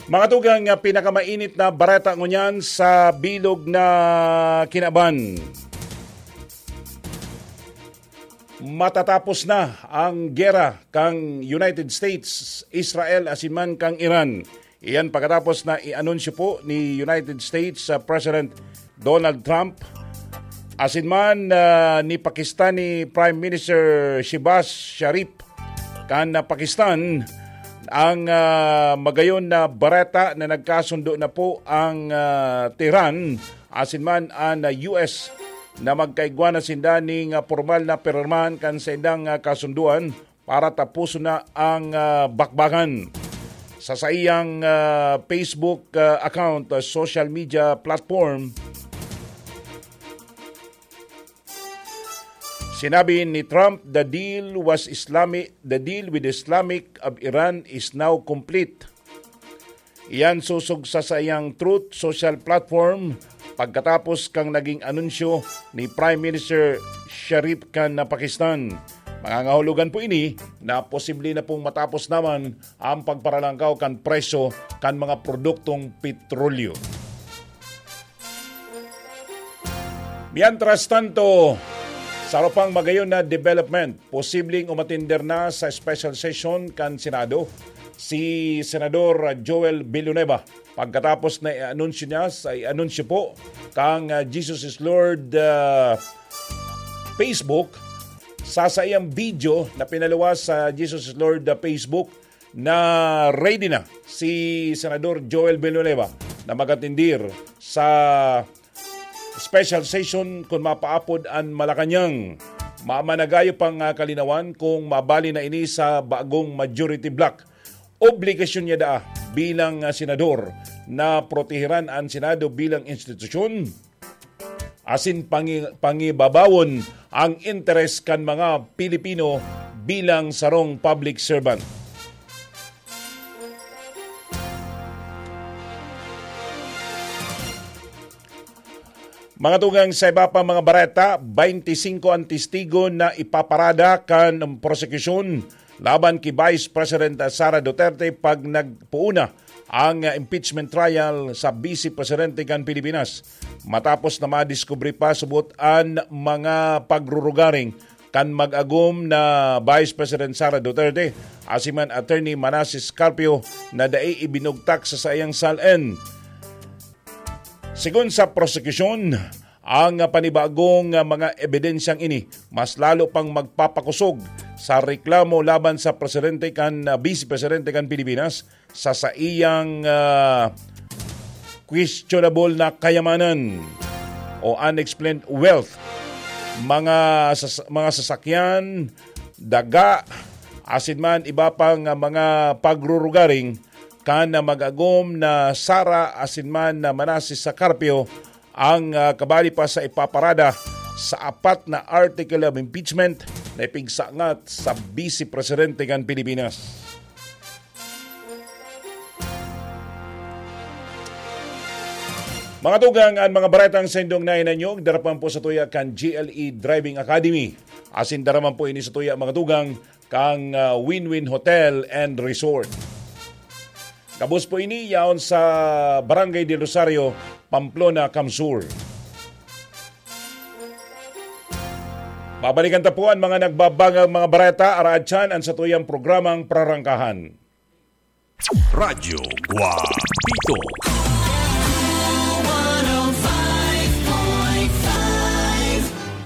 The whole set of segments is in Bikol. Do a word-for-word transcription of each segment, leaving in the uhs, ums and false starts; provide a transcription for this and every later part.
Mga tugang, nga pinakamainit na bareta ngunyan sa bilog na kinaban. Matatapos na ang gera kan United States, Israel, asin man kan Iran. Iyan pagkatapos na i-anunsyo po ni United States, ah, President Donald Trump, asin man, ah, ni Pakistani Prime Minister Shehbaz Sharif kan, ah, Pakistan, ang, ah, magayon na bareta na nagkasundo na po ang, ah, Tehran asin man an, ah, U S na magkaigwa na sinda ning, ah, pormal na pirmahan kan saindang, ah, kasundoan para tapuson na ang, ah, bakbakan. Sa saiyang, ah, Facebook, ah, account, ah, social media platform, sinabi ni Trump, "The deal was Islamic, the deal with Islamic of Iran is now complete." Iyan sosog sa saiyang Truth Social platform pagkatapos kan naging anunsyo ni Prime Minister Sharif kan Pakistan. Mangangahulugan po ini na posible na pong matapos naman ang pagparalangkaw kan presyo kan mga produktong petrolyo. Mientras tanto, sa pang magayon na development, posibleng umatender na sa special session kan Senado si Senador Joel Villanueva pagkatapos na i-anunsyo niya sa i-anunsyo po kang, ah, Jesus is Lord, ah, Facebook. Sa saiyang video na pinaluwas sa Jesus is Lord, ah, Facebook, na ready na si Senador Joel Villanueva na magatindir sa special session kun mapaapod an Malacañang. Mamanagayo pang, ah, kalinawan kung mabali na ini sa bagong majority bloc. Obligasyon niya daa bilang, ah, senador na proteheran an Senado bilang institusyon asin pangi-, pangibabawon ang interes kan mga Pilipino bilang sarong public servant. Mga tugang, sa iba pa mga bareta, baynte singko an testigo na ipaparada kan prosekusyon laban ki Vice President Sara Duterte pag nagpoon na ang impeachment trial sa Vice Presidente kan Pilipinas. Matapos na madiskubre pa subot an mga pagrurugaring kan mag-agom na Vice President Sara Duterte, asin man Attorney Manases Carpio na dai ibinugtak sa saiyang SALN. Sigon sa prosekusyon, ang panibagong mga ebidensyang ini mas lalo pang magpapakosog sa reklamo laban sa presidente kan, ah, vice presidente kan Pilipinas sa saiyang, ah, questionable na kayamanan o unexplained wealth, mga sas-, mga sasakyan, daga, asin man iba pang, ah, mga pagrurugaring kan mag-agom na Sara asin man na Manases sa Carpio, ang, ah, kabali pa sa ipaparada sa apat na article of impeachment na ipigsangat sa Vice Presidente kan Pilipinas. Mga tugang, an mga baretang saindong nainanyog, darapan po sa tuya kan G L E Driving Academy. Asin daraman po ini sa tuya, mga tugang, kan, ah, Win-Win Hotel and Resort. Gabos po ini yaon sa Barangay del Rosario, Pamplona, CamSur. Babalikan ta po an mga nagbabagang mga bareta, araad siyan an satuyang programang Prarangkahan. Radyo Guapito.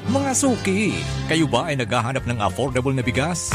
Mga suki, kayo ba ay naghahanap ng affordable na bigas?